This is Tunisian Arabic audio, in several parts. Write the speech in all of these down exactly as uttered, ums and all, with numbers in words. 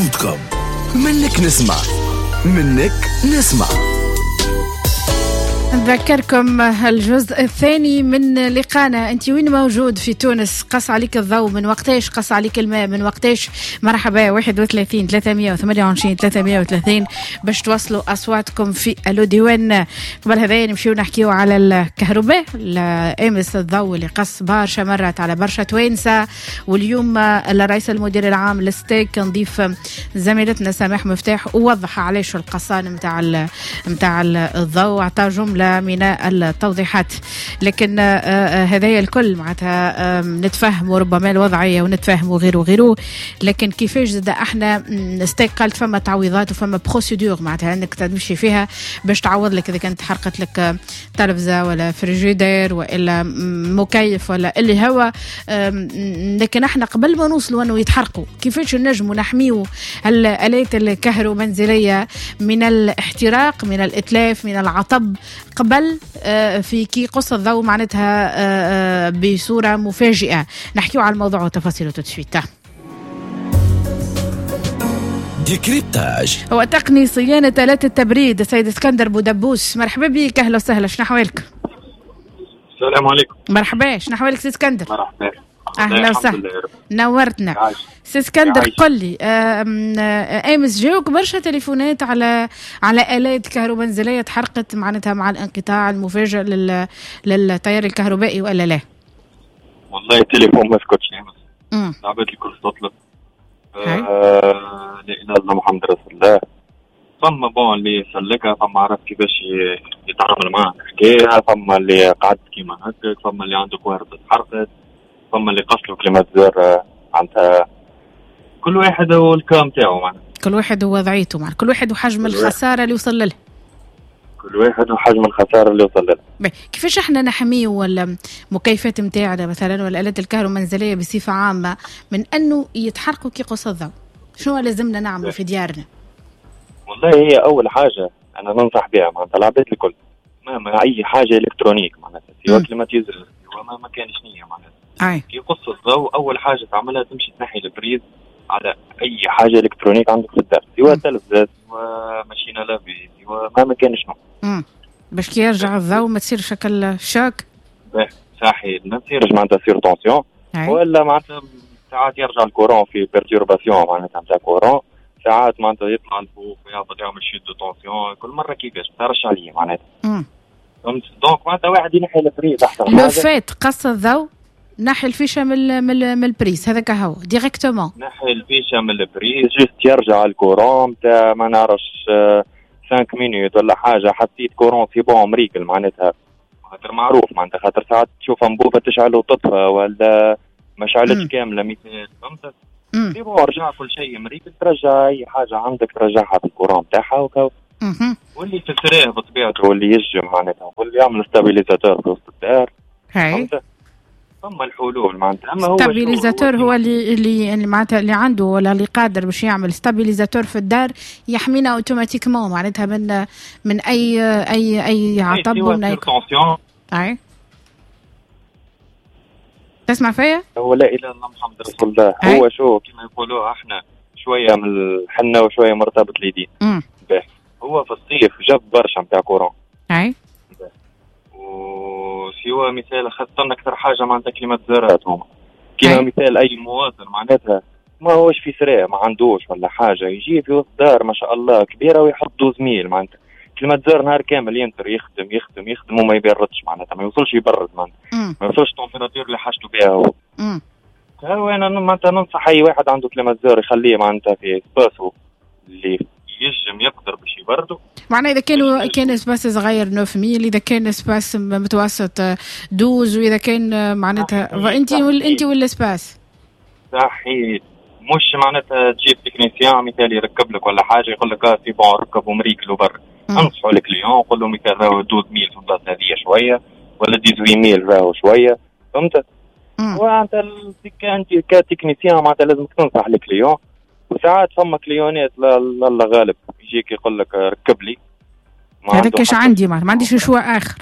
تفوتكم. منك نسمع، منك نسمع. نذكركم الجزء الثاني من لقانا. انت وين موجود في تونس؟ قص عليك الضوء من وقتاش؟ قص عليك الماء من وقتاش؟ مرحبا، واحد وثلاثين ثلاثمية وثمانية وعشرين ثلاثمية وثلاثين باش توصلوا اصواتكم في الو ديوان. قبل هذا نمشيو نحكيو على الكهرباء. امس الضوء اللي قص برشا مرات على برشا توانسة، واليوم الرئيس المدير العام للستاغ نضيف زميلتنا سماح مفتاح ووضح علاش القصان نتاع نتاع الضوء، عطى جملة من التوضيحات. لكن هذايا الكل معناتها نتفهموا ربما الوضعية ونتفهموا غيره وغيره، لكن كيفاش زاد احنا ستاغ قالت فما تعويضات وفما procédure معناتها انك تمشي فيها باش تعوض لك اذا كانت حرقت لك تلفزه ولا فريجيدير والا مكيف ولا اللي هو. لكن احنا قبل ما نوصلوا انه يتحرقوا كيفاش نجموا نحميوا الالات الكهرومنزليه من الاحتراق، من الاتلاف، من العطب قبل في كي قص الضوء معناتها بصورة مفاجئة. نحكيو على الموضوع وتفاصيله tout de suite. décryptage هو تقني صيانة آلات التبريد السيد اسكندر بودبوس. مرحبا بك، أهلا وسهلا، شنو أحوالك؟ السلام عليكم. مرحبا، شنو أحوالك سي اسكندر؟ مرحبا، أهلا وسهلا، نورتنا سي اسكندر. قل لي، امس جاوك برشا تليفونات على على آلات كهرومنزلية تحرقت معناتها مع الانقطاع المفاجئ لل للتيار الكهربائي ولا لا؟ والله التليفون ما سكتش امس، العباد الكل تطلب. آه، لا اله الا الله محمد رسول الله. فما bon اللي سلكها، فما عرف كيفاش يتعامل معها الحكاية، فما اللي قعد كيما هكاك، فما اللي عنده كهرباء تحرقت، فما اللي قصلوا climatiseur. عندها كل واحد وال cas متاعو معناها، كل واحد ووضعيته معناها، كل واحد وحجم الخسارة اللي وصل لها، كل واحد وحجم الخسارة اللي وصل لها. كيفاش احنا نحمية ولا المكيفات نتاعنا مثلا ولا الآلات الكهرومنزلية بصفة عامة من انه يتحرقوا كي قص الضوء؟ شنو لازمنا نعملوا في ديارنا؟ والله هي اول حاجة انا ننصح بها معناتها العباد الكل، ما, ما اي حاجة électronique معناتها سواء climatiseur سواء ما, ما كان شنية معناتها. كي يقص الضوء اول حاجة تعملها تمشي تنحي ال prise على اي حاجة électronique عندك في الدار، سواء تلفزه سواء machine à laver سواء ما ما كان شنو. باش كي يرجع الضوء ما تصيرش شكل choc. صحيح، ما تصيرش معناتها surtension، ولا معناتها ساعات يرجع ال courant في perturbation معناتها نتاع courant، ساعات معناتها يطلع الفوق ويهبط يعمل chute de tension، كل مرة كيفاش ما تعرفش عليه معناتها. فهمت؟ donc معناتها واحد ينحي ال prise احسن حاجة. le fait قص الضوء نحي ال fiche من من من ال prise هذاك هو directement، نحي ال fiche من ال prise juste يرجع ال courant تاع ما نعرفش خمسة minutes ولا حاجة، حطيت courant c'est bon مريكل معناتها، خاطر معروف معناتها، خاطر ساعات تشوف انبوبة تشعل وتطفى ولا ما شعلتش كاملة مثال، فهمت؟ c'est bon رجع كل شيء مريكل، ترجع اي حاجة عندك ترجعها بال courant تاعها وكا. واللي تسريه بطبيعته واللي يجم معناتها واللي يعمل stabilisateur في وسط الدار. فهمت؟ ثم الحلول معناتها. اما هو stabilisateur هو اللي اللي معناتها اللي عنده ولا اللي قادر باش يعمل stabilisateur في الدار يحمينا automatiquement معناتها من من اي اي اي عطب ومن اي اي. تسمع فيا؟ هو لا اله الا الله محمد رسول الله. هو شو كما يقولوا احنا شوية من الحنة وشوية مرتبط اليدين. هو في الصيف جاب برشا نتاع courant. اي سوى مثال خاصة أكثر حاجة معناتها climatiseur ات هما كيما مثال أي مواطن معناتها ما هوش في سراء ما عندوش ولا حاجة يجي في وسط دار ما شاء الله كبيرة ويحط douze mille معناتها climatiseur نهار كامل ينتر يخدم يخدم يخدم وما يبردش معناتها، ما يوصلش يبرد معناتها، ما يوصلش température اللي حاجته بها هو. هو أنا معناتها ننصح أي واحد عنده climatiseur يخليه معناتها في espace و اللي يجم يقدر باش يبردو. معناها اذا كانوا كان espace صغير تسعة mille، اذا كان espace متوسط douze، واذا كان معناتها انت وال انت وال espace. صحيح، مش معناتها تجيب technicien مثال يركب لك ولا حاجة يقول لك اه c'est bon ركب ومريكل وبر. انصحوا ال client قول له مثال راهو douze mille في البلاصة هذه شوية ولا dix-huit mille راهو شوية، فهمت؟ وانت انت ك technicien معناتها لازمك تنصح ال client. وساعات فما client ات لا غالب يجيك يقول لك ركب لي، هذاك اش عندي ما عنديش choix اخر،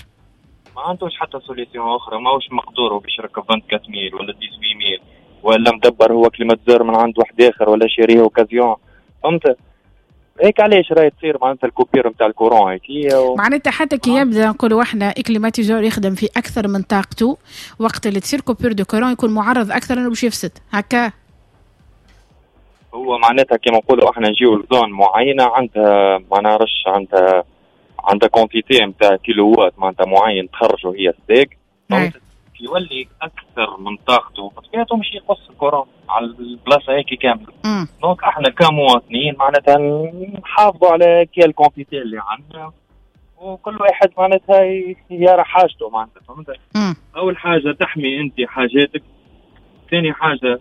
ما عندوش حتى solution اخرى، ماهوش مقدوره باش يركب أربعة وعشرين mille ولا ثمانية عشر mille ولا مدبر هو climatiseur من عند واحد اخر ولا شاريه occasion. فهمت؟ هيك علاش راهي تصير معناتها ال coupure نتاع ال courant هيك و... معناتها حتى كي يبدا نقولوا احنا climatiseur يخدم في اكثر من طاقته، وقت اللي تصير coupure de courant يكون معرض اكثر انه باش يفسد هكا. هو معناتها كيما نقولوا احنا نجيو ل zone معينة عندها ما نعرفش عندها عندها quantité نتاع كيلو وات معناتها معين تخرجوا هي STEG، يولي اكثر من طاقته بطبيعته مش يقص ال courant على البلاصة هيك كاملة. donc احنا كمواطنين معناتها نحافظوا على كي ال quantité اللي عندنا، وكل واحد معناتها يرى حاجته معناتها، فهمت؟ اول حاجة تحمي انت حاجاتك، ثاني حاجة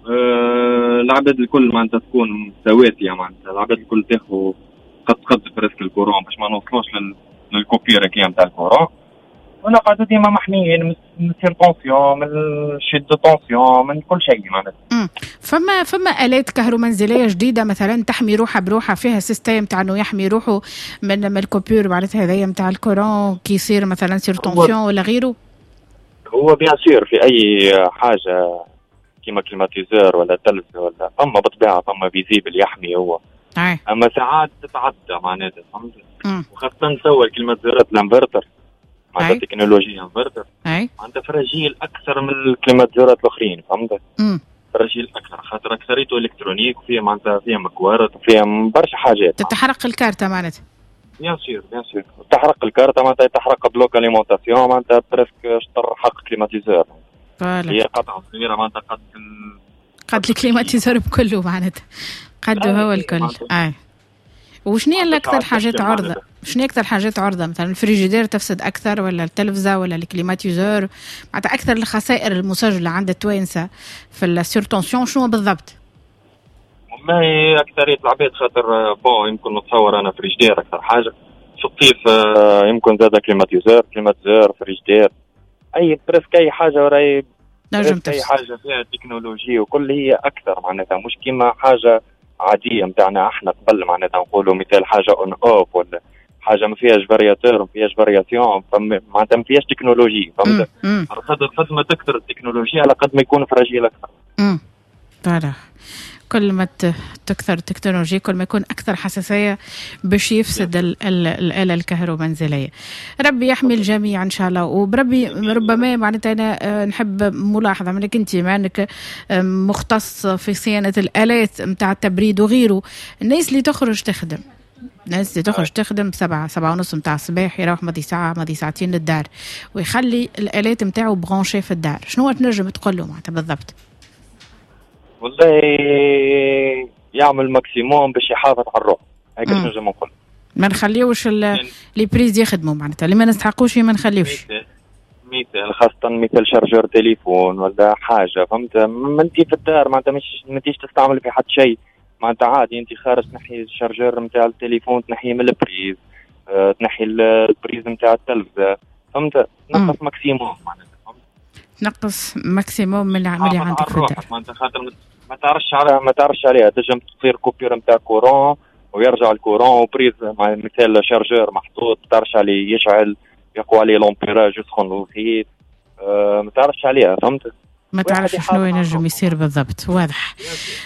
آه العباد الكل معناتها تكون سواسية، معناتها العباد الكل تاخذ قد قد presque ال courant باش ما نوصلوش لل coupure كي نتاع ال courant، ونقعدوا ديما محميين من surtension، من chute de tension، من كل شيء معناتها. فما فما آلات كهرومنزلية جديدة مثلا تحمي روحها بروحها، فيها système تاع انه يحمي روحه من من ال coupure معناتها هذايا نتاع ال courant كي يصير مثلا surtension ولا غيره. هو bien sûr في اي حاجة كيما climatiseur ولا تلفزة ولا فما بالطبيعة فما fusible يحمي هو. أي. اما ساعات تتعدى معناتها، فهمت؟ وخاصة توا ال climatiseur ات الانفرتر معناتها technologie inverter معناتها fragile اكثر من ال climatiseur ات الاخرين، فهمت؟ fragile اكثر خاطر اكثريته électronique وفيها معناتها فيها مكوارت وفيها برشا حاجات. تتحرق الكارته معناتها. bien sûr bien sûr تحرق الكارته معناتها تحرق bloc alimentation معناتها presque شطر حق climatiseur. هي قطعه صغيرة معناتها قد ال... قد ال climatiseur بكله معناتها قد هو الكل. اي وشنو هي اكثر حاجات عرضه؟ شنو اكثر حاجات عرضه؟ مثلا الفريجيدير تفسد اكثر ولا التلفزة ولا ال climatiseur؟ معناتها اكثر الخسائر المسجلة عند التوانسة في ال surtension شنو بالضبط؟ والله اكثرية العباد خاطر bon يمكن نتصور انا فريجيدير اكثر حاجة في الصيف، يمكن زاد climatiseur climatiseur frigidaire اي presque اي حاجة وراي نجم اي حاجة فيها تكنولوجيا وكل هي اكثر معناتها، مش كيما حاجة عادية نتاعنا احنا قبل معناتها نقولوا مثال حاجة on off ولا حاجة ما فيهاش variateur ما فيهاش variation، معناتها ما فيهاش تكنولوجي، فهمت؟ قد قد ما تكثر التكنولوجيا على قد ما يكون fragile اكثر. امم voilà كل ما تكثر التكنولوجيا كل ما يكون أكثر حساسية باش يفسد ال ال الآلة الكهرومنزلية. ربي يحمي الجميع إن شاء الله. وبربي ربما معناتها أنا نحب ملاحظة منك أنت مع أنك مختص في صيانة الآلات متاع التبريد وغيره، الناس اللي تخرج تخدم، الناس اللي تخرج تخدم سبعة سبعة ونص متاع الصباح يروح ماضي ساعة ماضي ساعتين للدار ويخلي الآلات متاعه branchées في الدار، شنو تنجم تقول له معناتها بالضبط؟ والله يعمل maximum باش يحافظ على الروح، هيك نجم نقول. ما نخليوش les prises يخدموا معناتها، اللي ما نستحقوش ما نخليوش. مثال خاصة مثال chargeur téléphone ولا حاجة، فهمت؟ ما انت في الدار معناتها مش ما انتيش تستعمل في حد شيء، معناتها عادي انت خارج تنحي ال chargeur نتاع التليفون، تنحيه من ال prise، اه تنحي ال prise نتاع التلفزة، فهمت؟ تنقص maximum معناتها، تنقص maximum من اللي عندك في الدار. معناتها خاطر ما تعرفش عليها، ما تعرفش عليها تنجم تصير coupure نتاع courant ويرجع ال courant و prise مع مثال chargeur محطوط تعرفش عليه يشعل يقوى عليه l'ampérage يسخن الخيط، أه ما تعرفش عليها، فهمت؟ ما تعرفش شنو ينجم يصير بالضبط. واضح.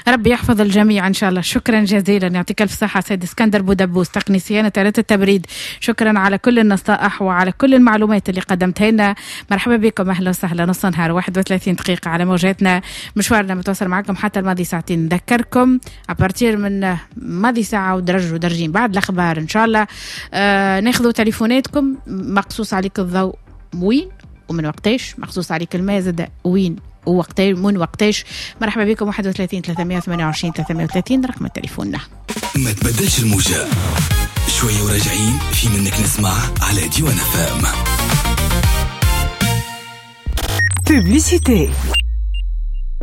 ربي يحفظ الجميع ان شاء الله. شكرا جزيلا، يعطيك الف صحة سيد اسكندر بودبوس تقني صيانة آلات التبريد، شكرا على كل النصائح وعلى كل المعلومات اللي قدمتها لنا. مرحبا بكم، اهلا وسهلا. نص نهار واحد وثلاثين دقيقة على موجاتنا، مشوارنا متواصل معكم حتى الماضي ساعتين. نذكركم à partir من ماضي ساعة ودرج ودرجين بعد الاخبار ان شاء الله آه ناخذوا تليفوناتكم. مقصوص عليك الضوء وين ومن وقتاش؟ مخصوص عليك الماء زاد وين ووقتاش من وقتاش؟ مرحبا بكم واحد وثلاثين ثلاثمية وثمانية وعشرين ثلاثمية وثلاثين رقم التليفون. ما تبدلش الموجة، شوية وراجعين في منك نسمع على ديوان فام. publicité.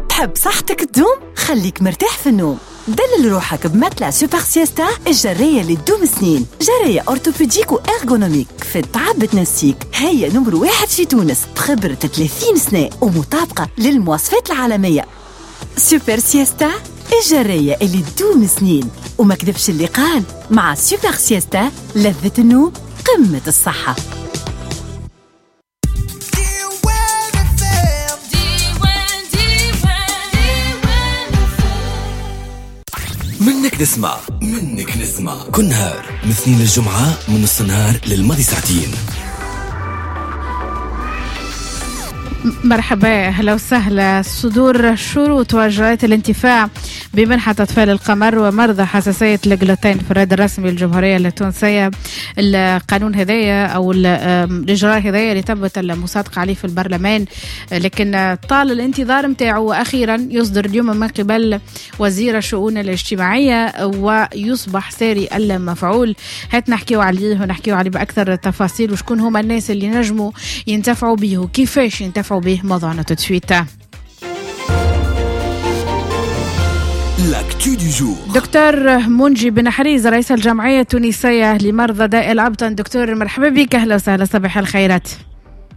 تحب صحتك تدوم؟ خليك مرتاح في النوم. دلل روحك ب matelas Super Siesta الجرية اللي تدوم سنين، جرية orthopédique و ergonomique في التعب تنسيك، هي نمر واحد في تونس بخبرة ثلاثين سنة ومطابقة للمواصفات العالمية. Super Siesta الجرية اللي تدوم سنين، وما كذبش اللي قال مع Super Siesta لذة النوم قمة الصحة. منك نسمع منك نسمع كل نهار من اثنين للجمعة من نص النهار للماضي ساعتين. مرحبا، اهلا وسهلا. صدور شروط واجراءات الانتفاع بمنحة أطفال القمر ومرضى حساسية الجلوتين في الرد الرسمي للجمهورية التونسية. القانون هذايا أو الإجراء هذايا اللي تمت المصادقة عليه في البرلمان، لكن طال الانتظار متاعه، وأخيرا يصدر اليوم من قبل وزير الشؤون الاجتماعية ويصبح ساري المفعول. هات نحكيو عليه ونحكيو عليه بأكثر التفاصيل، وشكون هما الناس اللي نجموا ينتفعوا به وكيفاش ينتفعوا به. موضوعنا tout de suite. L'actu du jour. دكتور منجي بن حريز رئيس الجمعية التونسية لمرضى داء الأبطن. دكتور مرحبا بك، أهلا وسهلا، صباح الخيرات.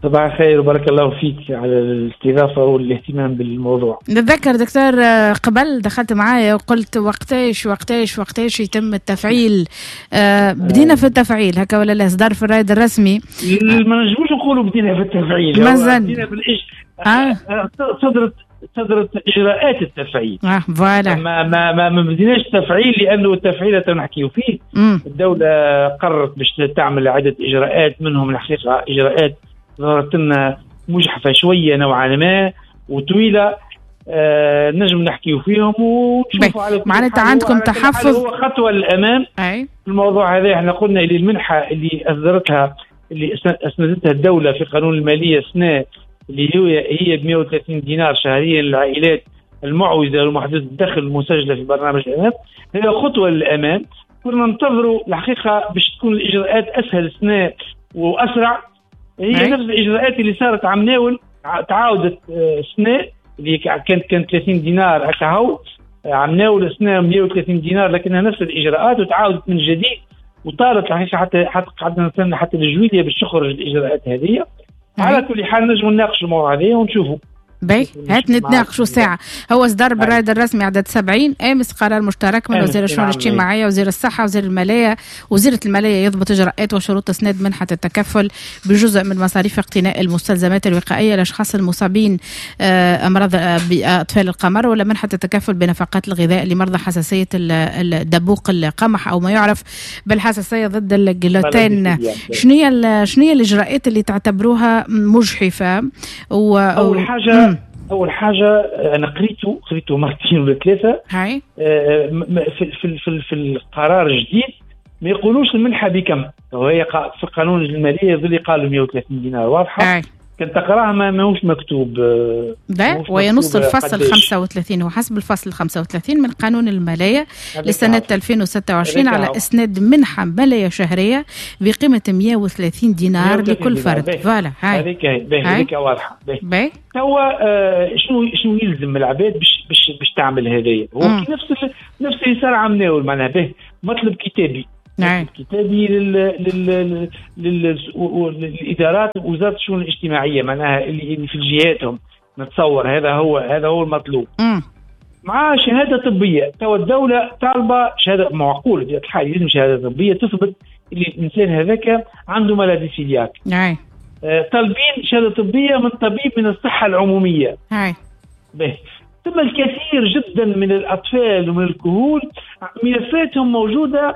صباح الخير وبارك الله فيك على الاستضافة والاهتمام بالموضوع. نتذكر دكتور قبل دخلت معايا وقلت وقتاش وقتاش وقتاش يتم التفعيل. آه بدينا في التفعيل هكا ولا لا؟ صدر في الرائد الرسمي. ما نجموش نقولوا بدينا في التفعيل، مازال بدينا بالإج... آه. صدرت صدرت اجراءات التفعيل. اه voilà. ما ما ما, ما بديناش التفعيل لانه التفعيل نحكيو فيه. مم. الدولة قررت باش تعمل عده اجراءات، منهم الحقيقة اجراءات ظهرت لنا مجحفه شوية نوعا ما وطويلة، آه نجم نحكيو فيهم ونشوفوا على معناتها عندكم تحفظ. هو خطوة للامام. أي. الموضوع هذا احنا قلنا اللي المنحة اللي اصدرتها اللي اسندتها الدولة في قانون المالية سنة اللي هي هي ب مئة وثلاثين دينار شهريا للعائلات المعوزه والمحدوده الدخل المسجلة في برنامج الامام، هي خطوة للامام. كنا ننتظروا الحقيقة باش تكون الاجراءات اسهل سنة واسرع. هي أي. نفس الاجراءات اللي صارت عم ناول تعاودت سنة اللي كانت كانت ثلاثين دينار هكا هو عم ناول سنة مئة وثلاثين دينار، لكنها نفس الاجراءات وتعاودت من جديد وطارت الحقيقة حتى حتى قعدنا نستنى حتى الجويليه باش تخرج الاجراءات هذه. على كل حال نجم نناقش الموضوع هذا ونشوفوا. باهي، هات نتناقشوا ساعة. هو صدر بالرائد الرسمي عدد سبعين أمس قرار مشترك من وزير الشؤون الاجتماعية وزير الصحة وزير المالية. وزيرة المالية يضبط إجراءات وشروط إسناد منحة التكفل بجزء من مصاريف اقتناء المستلزمات الوقائية للأشخاص المصابين أمراض بأطفال القمر، ولا منحة التكفل بنفقات الغذاء لمرضى حساسية الدبوق القمح أو ما يعرف بالحساسية ضد الجلوتين. شنو هي شنو هي الإجراءات اللي تعتبروها مجحفة؟ و... أول حاجة أول حاجة أنا قريته قريته مرتين ولا ثلاثة. هاي. في في في, في القرار الجديد ما يقولوش المنحة بكم، وهي في قانون المالية يظل قالوا مئة وثلاثين دينار واضحة. هاي. كنت تقراها ما ماهوش مكتوب. ده وينص الفصل خمسة وثلاثين وحسب الفصل خمسة وثلاثين من قانون المالية لسنة ألفين وستة وعشرين على إسناد منحة مالية شهرية بقيمة مئة وثلاثين دينار لكل فرد. voilà. هاي هذيك هذيك واضحة. باهي. توا آه شنو شنو يلزم العباد باش باش باش تعمل هذايا؟ هو نفس نفس اللي صار عم ناول معناها. به مطلب كتابي. نعم. كتابي لل لل لل للادارات وزارة الشؤون الاجتماعية معناها اللي في جهاتهم نتصور هذا هو هذا هو المطلوب. مم. مع شهادة طبية. تو الدولة طالبه شهادة معقولة في الحال، لازم شهادة طبية تثبت اللي الانسان هذاك عنده maladie cœliaque. نعم. آه طالبين شهادة طبية من طبيب من الصحة العمومية. نعم. به ثم الكثير جدا من الاطفال ومن الكهول ملفاتهم موجودة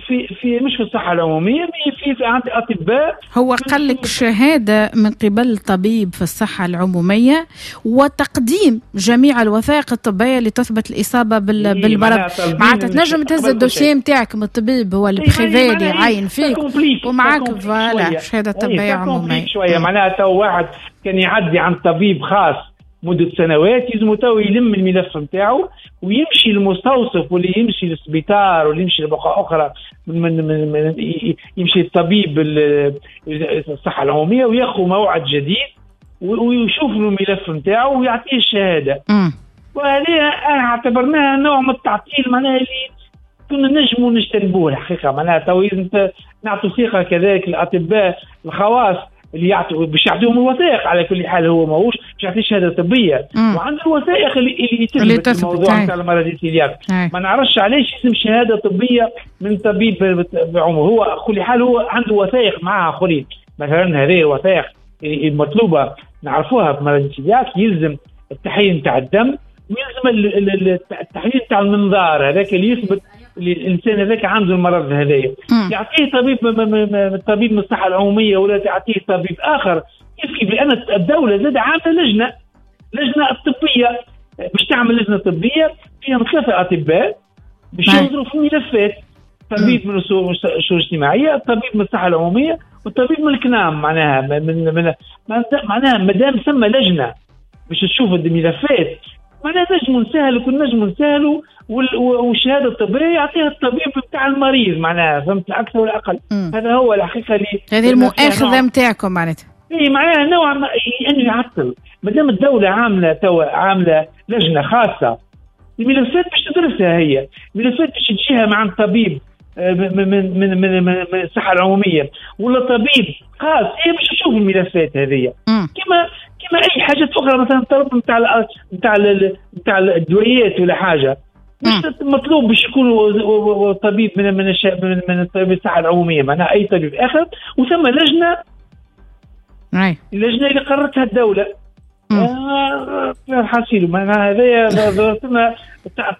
في في مش في الصحة العمومية، في في عند أطباء. هو قال لك شهادة من قبل طبيب في الصحة العمومية وتقديم جميع الوثائق الطبية اللي تثبت الإصابة بال بالمرض. معناتها تنجم تهز ال dossier نتاعك من الطبيب هو ال privé اللي يعاين فيك ومعاك voilà شهادة طبية عمومية. شوية معناها تو واحد كان يعدي عند طبيب خاص مدة سنوات يلزمو تو يلم الملف نتاعو ويمشي للمستوصف واللي يمشي للسبيطار واللي يمشي لبقعة أخرى من من من, من يمشي للطبيب الصحة العمومية وياخذ موعد جديد ويشوف له الملف نتاعو ويعطيه الشهادة. وهذه اعتبرناها نوع من التعطيل معناها اللي كنا نجموا نجتنبوه الحقيقة. معناها تو نعطوا ثقة كذلك الأطباء الخواص اللي يعطوا باش يعطيهم الوثائق. على كل حال هو ماهوش باش يعطي شهادة طبية وعنده الوثائق اللي اللي تثبت الموضوع نتاع المرض السيلياك. ما نعرفش علاش يلزم شهادة طبية من طبيب بعمره. هو كل حال هو عنده وثائق معها اخرين، مثلا هذه الوثائق المطلوبة نعرفوها في مرض السيلياك، يلزم التحليل نتاع الدم ويلزم التحليل تاع المنظار هذاك اللي يثبت اللي الانسان هذاك عنده المرض هذايا. يعطيه طبيب طبيب من الصحة العمومية ولا تعطيه طبيب اخر كيف كيف، لان الدولة زاد عامله لجنة لجنة طبية باش تعمل لجنة طبية فيها ثلاثة اطباء باش ينظروا في الملفات، طبيب من الشؤون الاجتماعية، طبيب من الصحة العمومية، والطبيب من الكنام. معناها من من معناها مادام ثم لجنة باش تشوف الملفات معناها نجموا نسهلوا، كنا نجموا نسهلوا، والشهادة الطبية يعطيها الطبيب بتاع المريض معناها، فهمت، اكثر ولا اقل. مم. هذا هو الحقيقة اللي هذه المؤاخذة نتاعكم معناتها. اي معناها نوع ما انه يعطل، مادام الدولة عامله توا عامله لجنة خاصة الملفات باش تدرسها هي، الملفات باش تجيها مع الطبيب من من من من, من الصحة العمومية ولا طبيب خاص، هي باش تشوف الملفات هذه كما كما اي حاجة اخرى، مثلا الطلب نتاع نتاع نتاع الدويات ولا حاجة مش مطلوب باش يكون طبيب من من من, من طبيب الصحة العمومية، معناها اي طبيب اخر، وثم لجنة اللجنة اللي قررتها الدولة. آه حاصيل معناها هذايا ظهرتنا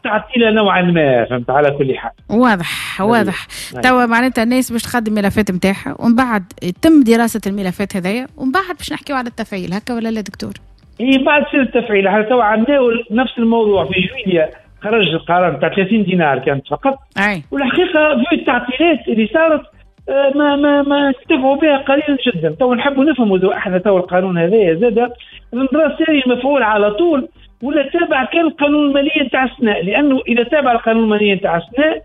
تعطيله نوعا ما، فهمت. على كل حال واضح واضح. توا معناتها الناس باش تخدم الملفات نتاعها ومن بعد يتم دراسة الملفات هذايا ومن بعد باش نحكيو على التفعيل، هكا ولا لا دكتور؟ اي بعد سير التفعيل. احنا توا عملنا نفس الموضوع في جويليا، خرج القرار تاع ثلاثين دينار كانت فقط. أي. والحقيقة في التعطيلات اللي صارت ما ما ما انتفعوا بها قليلا جدا. تو نحبوا نفهموا احنا تو القانون هذايا زاد النظرة ساري المفعول على طول ولا تابع كان القانون المالية نتاع السنة، لانه اذا تابع القانون المالية نتاع السنة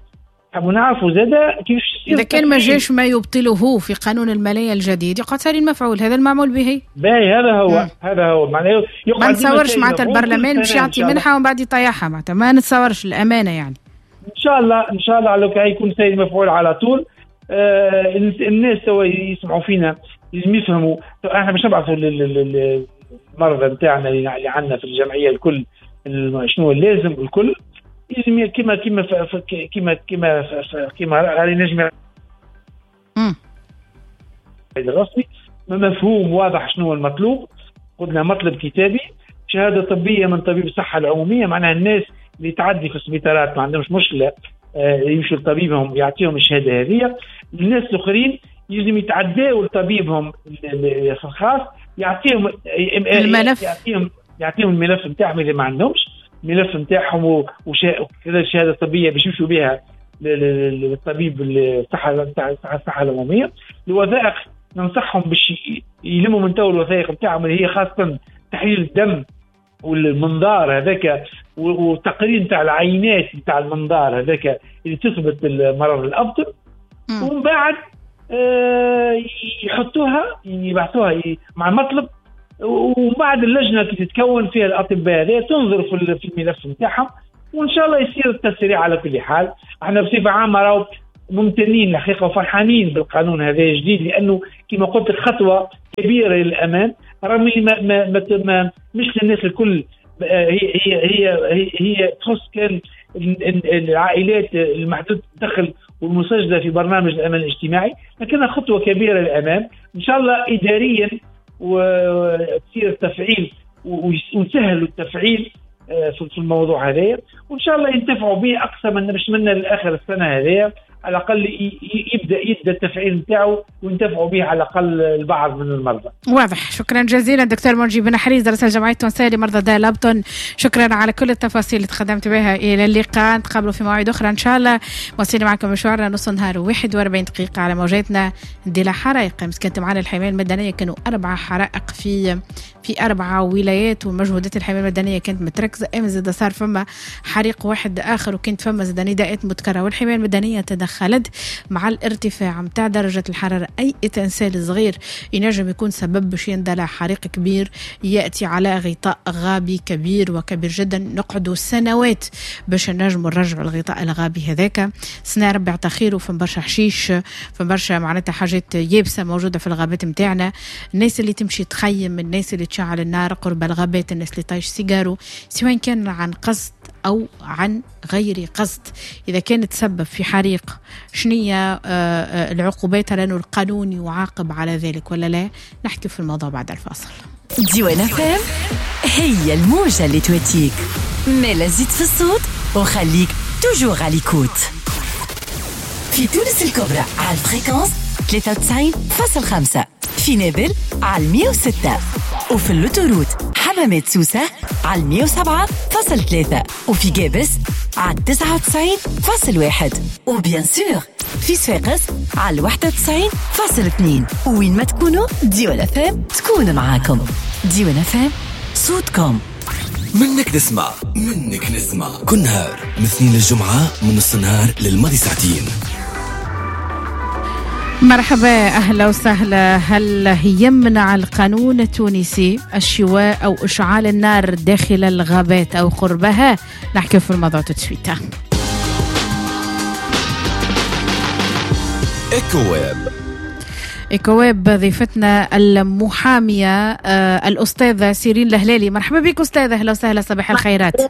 نحبوا نعرفوا زاد كيفاش اذا كان ما جاش ما يبطله في قانون المالية الجديد يقعد ساري المفعول، هذا المعمول به. باهي هذا هو. هذا هو معناه ما نتصورش معناتها البرلمان باش يعطي منحه ومن بعد يطيحها، معناتها ما نتصورش الامانة يعني. ان شاء الله ان شاء الله على يكون ساري المفعول على طول. آه الناس توا يسمعوا فينا لازم يفهموا، احنا باش نبعثوا للمرضى نتاعنا اللي عندنا في الجمعية الكل شنو اللازم الكل، لازم كما كما كما كما كما راني نجم الرسمي مفهوم واضح شنو المطلوب. قلنا مطلب كتابي، شهادة طبية من طبيب الصحة العمومية، معناها الناس اللي تعدي في السبيطارات ما عندهمش مشكلة يمشوا لطبيبهم يعطيهم الشهادة هذه. الناس الاخرين يلزم يتعداوا لطبيبهم الخاص يعطيهم الملف، يعطيهم يعطيهم الملف نتاعهم اذا ما عندهمش الملف نتاعهم وكذا الشهادة الطبية باش يمشوا بها للطبيب الصحة نتاع الصحة العمومية. الوثائق ننصحهم باش يلموا من تو الوثائق نتاعهم اللي هي خاصة تحليل الدم والمنظار هذاك وتقرير نتاع العينات نتاع المنظار هذاك اللي تثبت المرض الابطن، ومن بعد آه يحطوها يبعثوها مع المطلب، ومن بعد اللجنة كي تتكون فيها الاطباء هذه تنظر في الملف نتاعهم، وان شاء الله يصير التسريع. على كل حال احنا بصفة عامة راهو ممتنين الحقيقة وفرحانين بالقانون هذا الجديد، لانه كما قلت خطوة كبيرة للامام، رغم ما ما ما مش للناس الكل، هي هي هي هي تخص كان العائلات المحدودة الدخل والمسجله في برنامج الامان الاجتماعي، لكنها خطوة كبيرة للامام ان شاء الله اداريا وتصير التفعيل ونسهلوا التفعيل في الموضوع هذا، وان شاء الله ينتفعوا به اقصى من باش منا لاخر السنة هذه على الاقل يبدا يبدا التفعيل نتاعو وينتفعوا به على الاقل البعض من المرضى. واضح. شكرا جزيلا دكتور منجي بن حريز رئيس الجمعية التونسية لمرضى داء الابطن، شكرا على كل التفاصيل اللي تقدمت بها. الى اللقاء، نتقابلوا في مواعيد اخرى ان شاء الله. واصلين معكم مشوارنا نص نهار وواحد وأربعين دقيقة على موجاتنا ديلا حرائق. امس كانت معنا الحماية المدنية، كانوا اربع حرائق في في اربع ولايات، ومجهودات الحماية المدنية كانت متركزه. امس زاد صار فما حريق واحد اخر، وكانت فما زاد نداءات متكررة، والحماية المدنية تدخل خلد مع الارتفاع متاع درجة الحرارة. أي إنسان صغير ينجم يكون سبب باش يندلع حريق كبير يأتي على غطاء غابي كبير وكبير جدا، نقعدوا سنوات باش نجموا نرجعوا الغطاء الغابي هذاك. سنة ربي عطا خير، وفم برشا حشيش، فم برشا معناتها حاجات يابسة موجودة في الغابات متاعنا. الناس اللي تمشي تخيم، الناس اللي تشعل النار قرب الغابات، الناس اللي طايش سيجارو، سواء كان عن قصد أو عن غير قصد، إذا كانت تسبب في حريق شنية العقوبات؟ لأنه القانون يعاقب على ذلك ولا لا؟ نحكي في الموضوع بعد الفاصل. ديوان أف أم هي الموجة اللي تواتيك. مالا زيد في الصوت وخليك toujours à l'écoute. في تونس الكبرى على ال fréquence ثلاثة وتسعين فاصل خمسة، في نابل على مية وستة، وفي l'autoroute حمامات سوسة على مية وسبعة فاصل ثلاثة، وفي جابس على تسعة وتسعين فاصل واحد، و bien sûr في صفاقس على واحد وتسعين فاصل اثنين. وين ما تكونوا ديوان اف ام تكون معاكم. ديوان اف ام صوتكم. منك نسمع، منك نسمع كل نهار من اثنين للجمعة من نص النهار للماضي ساعتين. مرحبا، أهلا وسهلا. هل يمنع القانون التونسي الشواء أو إشعال النار داخل الغابات أو قربها؟ نحكي في الموضوع تتسويتا. إيكوويب إيكوويب ضيفتنا المحامية الأستاذة سيرين الهلالي. مرحبا بك أستاذة، أهلا وسهلا، صباح الخيرات.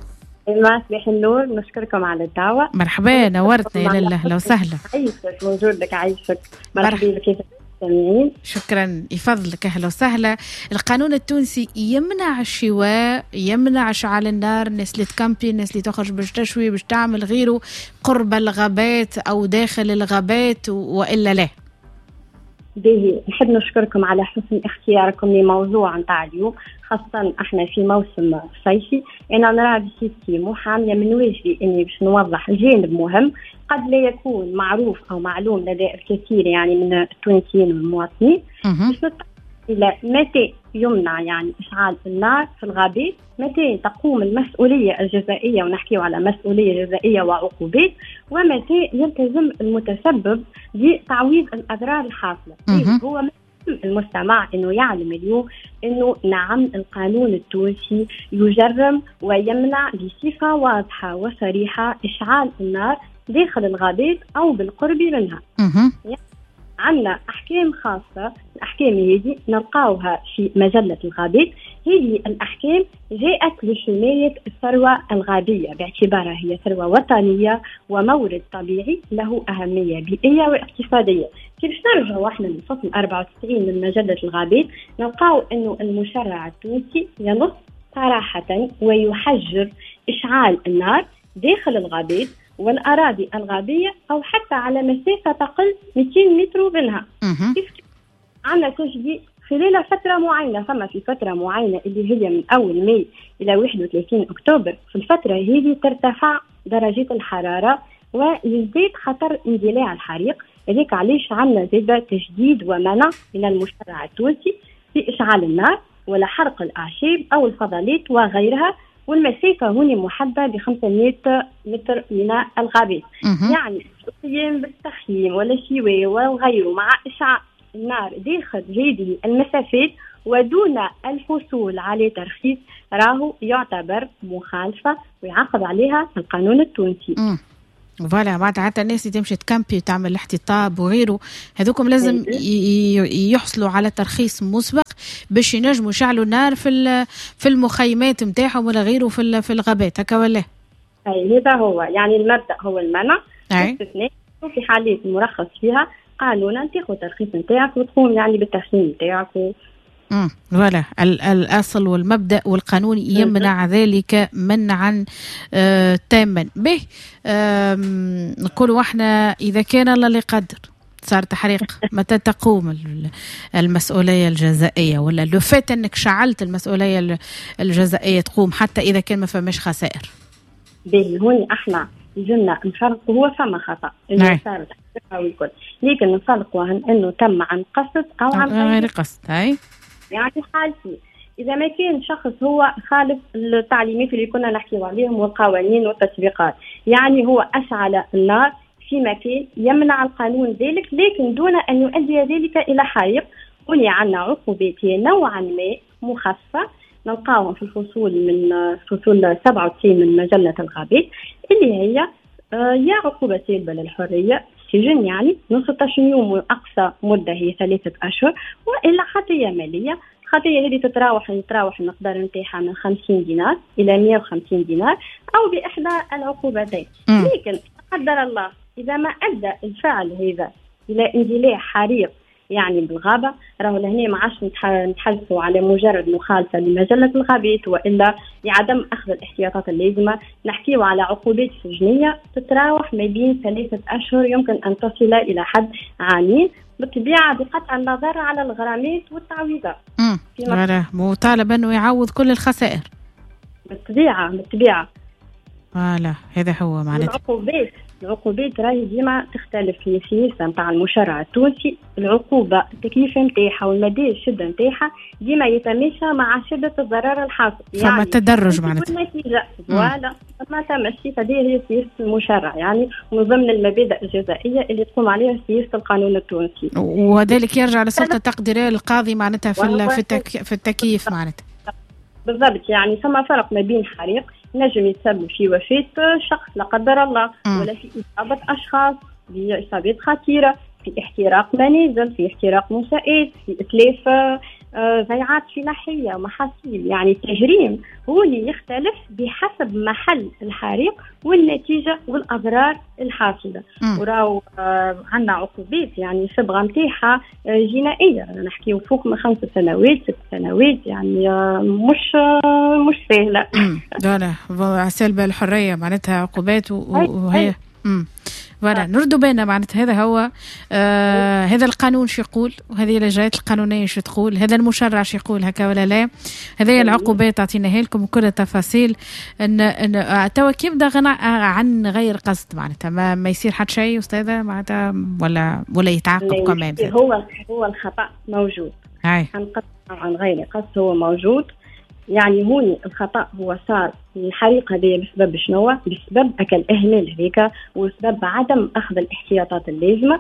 صباح النور، نشكركم على الدعوة. مرحبا، نورتنا يا لاله، أهلا وسهلا. عايشك، موجود لك، عايشك. مرحبا بك المستمعين. شكرا، يفضلك، أهلا وسهلا. القانون التونسي يمنع الشواء، يمنع إشعال النار، الناس اللي تكامبي، الناس اللي تخرج باش تشوي باش تعمل غيره قرب الغابات أو داخل الغابات، وإلا لا؟ باهي، نحب نشكركم على حسن اختياركم لموضوع نتاع اليوم، خاصة احنا في موسم صيفي. انا نرى بصفتي محامية من واجبي اني باش نوضح جانب مهم قد لا يكون معروف او معلوم لدى الكثير يعني من التونسيين والمواطنين. باش نتطرق الى متى يمنع يعني اشعال النار في الغابات، متى تقوم المسؤولية الجزائية، ونحكيو على مسؤولية جزائية وعقوبات، ومتى يلتزم المتسبب بتعويض الأضرار الحاصلة. هو المستمع انه يعلم اليوم انه نعم القانون التونسي يجرم ويمنع بصفة واضحة وصريحة اشعال النار داخل الغابات او بالقرب منها. يعني عندنا احكام خاصة، الاحكام هذه نلقاوها في مجلة الغابات. هذه الاحكام جاءت لحماية الثروة الغابيه باعتبارها هي ثروة وطنية ومورد طبيعي له اهمية بيئية واقتصادية. كيف نرجعوا احنا للفصل أربعة وتسعين من مجلة الغابات نلقاو انه المشرع التونسي ينص صراحة ويحجر اشعال النار داخل الغابات والأراضي الغابية أو حتى على مسافة تقل مئتين متر منها. كيف عندنا تجديد خلال فترة معينة، فما في فترة معينة اللي هي من أول ماي إلى واحد وثلاثين أكتوبر، في الفترة هذه ترتفع درجة الحرارة ويزداد خطر اندلاع الحريق. هذاك علاش عندنا زادة تجديد ومنع من المشرع التونسي في إشعال النار ولا حرق الأعشاب أو الفضلات وغيرها، والمسافة هنا محددة ب خمسمائة متر من الغابات. يعني القيام بالتخييم ولا شواء وغيره مع إشعال النار داخل هذه المسافات ودون الحصول على ترخيص راهو يعتبر مخالفة ويعاقب عليها القانون التونسي. مم. voilà، معناتها حتى الناس اللي تمشي تكامبي وتعمل الاحتطاب وغيره هذوكم لازم يحصلوا على ترخيص مسبق باش ينجموا يشعلوا النار في في المخيمات نتاعهم ولا غيره في في الغابات، هكا ولا؟ اي هذا هو يعني المبدا هو المنع، باستثناء في حالات مرخص فيها قانونا تاخذ ترخيص نتاعك وتقوم يعني بالتخييم نتاعك و... امم voilà، الاصل والمبدا والقانون يمنع ذلك منعا آه تاما. به نقولوا احنا اذا كان الله اللي قدر صار تحريق متى تقوم المسؤولية الجزائيه؟ ولا لو فات انك شعلت المسؤولية الجزائيه تقوم حتى اذا كان ما فماش خسائر؟ به هون احنا لازمنا نفرقوا، هو فما خطا انه صار تحريق والكل، لكن نفرقوا عن انه تم عن قصد او عن غير قصد. هاي يعني حالتي إذا ما كان شخص هو خالف التعليمات اللي كنا نحكي عليهم والقوانين والتطبيقات، يعني هو أشعل النار في مكان يمنع القانون ذلك لكن دون أن يؤدي ذلك إلى حريق، هنا عندنا عقوبات نوعا ما مخففة نلقاهم في الفصول من فصول سبعة وتسعين من مجلة الغابات اللي هي يا عقوبة سالبة للحرية سجن يعني من ستة عشر يوم وأقصى مدة هي ثلاثة أشهر، وإلا خطية مالية. الخطية هذه تتراوح يتراوح المقدار نتاعها من خمسين دينار إلى مئة وخمسين دينار أو بإحدى العقوبتين. لكن قدر الله إذا ما أدى الفعل هذا إلى اندلاع حريق يعني بالغابه، راهو لهنا ما عادش نتحدثوا على مجرد مخالفة لمجله الغابات والا لعدم اخذ الاحتياطات اللازمة، نحكيو على عقوبات سجنيه تتراوح ما بين ثلاثة اشهر يمكن ان تصل الى حد عامين، بالطبيعة بقطع النظر على الغرامات والتعويضات. امم مطالب انه يعوض كل الخسائر. بالطبيعة بالطبيعة. voilà هذا هو معناتها. العقوبات العقوبات راهي ديما تختلف في السياسة نتاع المشرع التونسي، العقوبة التكليف نتاعها والمدى الشدة نتاعها ديما يتماشى مع شده الضرر الحاصل، يعني فما تدرج معناتها النتيجة. voilà فما تمشي، فهذه هي سياسة المشرع، يعني من ضمن المبادئ الجزائيه اللي تقوم عليها سياسة القانون التونسي، وذلك يرجع للسلطة التقديريه للقاضي معناتها في في, التك... في التكييف معناتها. بالضبط، يعني فما فرق ما بين حريق نجم يتسبب في وفاة شخص لا قدر الله، م. ولا في إصابة أشخاص بإصابات خطيرة، في احتراق منازل، في احتراق منشآت، في إتلاف ضيعات فلاحية ومحاصيل. يعني التجريم هو اللي يختلف بحسب محل الحريق والنتيجة والأضرار الحاصلة. وراو آه عندنا عقوبات يعني صبغة نتاعها جنائية، نحكيو فوق من خمس سنوات ست سنوات، يعني آه مش آه مش سهلة. لا لا سلبة الحرية معناتها عقوبات وهي امم voilà نردوا بالنا معناتها. هذا هو آه هذا القانون شو يقول، وهذه الاجراءات القانونية شو تقول، هذا المشرع شو يقول هكا ولا لا، هذه العقوبات اعطيناها لكم وكل التفاصيل. ان ان توا كي يبدا عن غير قصد معناتها ما, ما يصير حتى شيء استاذه معناتها ولا ولا يتعاقب كمان. هو هو الخطا موجود عن قصد او عن غير قصد هو موجود، يعني هوني الخطأ هو صار الحريق هذه بسبب شنو؟ بسبب أكل إهمال هذيك وسبب عدم أخذ الاحتياطات اللازمة.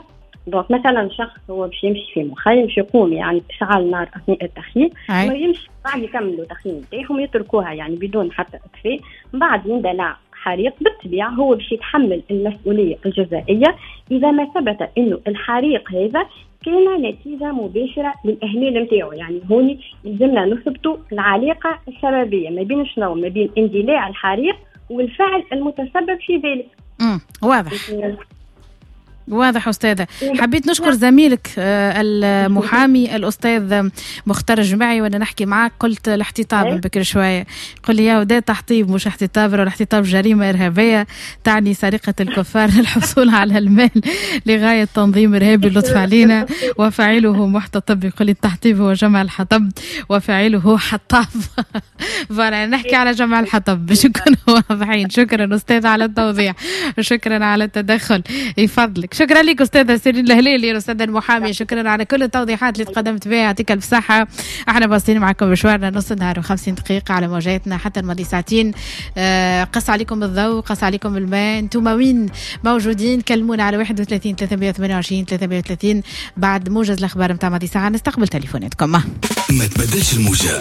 donc مثلا شخص هو باش يمشي في مخيم باش يقوم يعني بإشعال نار أثناء التخييم، ويمشي بعد يكملوا التخييم نتاعهم يتركوها يعني بدون حتى إطفاء، من بعد يندلع حريق، بالطبيعة هو باش يتحمل المسؤولية الجزائية إذا ما ثبت إنه الحريق هذا كان نتيجة مباشرة للإهمال نتاعو. يعني هوني يلزمنا نثبتوا العلاقة السببية ما بين شنو؟ ما بين اندلاع الحريق والفعل المتسبب في ذلك. امم واضح واضح أستاذة. حبيت نشكر زميلك المحامي الأستاذ مختار الجماعي، وأنا نحكي معاك قلت الاحتطاب من بكر شوية، قل لي يا ودا تحطيب مش احتطاب، الاحتطاب جريمة إرهابية تعني سرقة الكفار للحصول على المال لغاية تنظيم إرهابي، اللطف علينا، وفاعله محتطب. يقول لي التحطيب هو جمع الحطب وفاعله حطاب. فأنا نحكي على جمع الحطب باش نكونوا واضحين. شكرا أستاذ على التوضيح، شكرا على التدخل، يفضلك. شكرا لك أستاذة سيرين الهلالي الأستاذة المحامية، شكرا على كل التوضيحات اللي تقدمت بها، يعطيك الف صحة. احنا واصلين معكم مشوارنا نص نهار وخمسين دقيقة على موجاتنا حتى الماضي ساعتين. آه قص عليكم الضوء، قص عليكم الماء، انتم وين موجودين؟ كلمونا على واحد وثلاثين ثلاثمية وثمانية وعشرين ثلاثمية وثلاثين. بعد موجز الأخبار متاع ماضي ساعة نستقبل تليفوناتكم. ما تبدلش الموجة،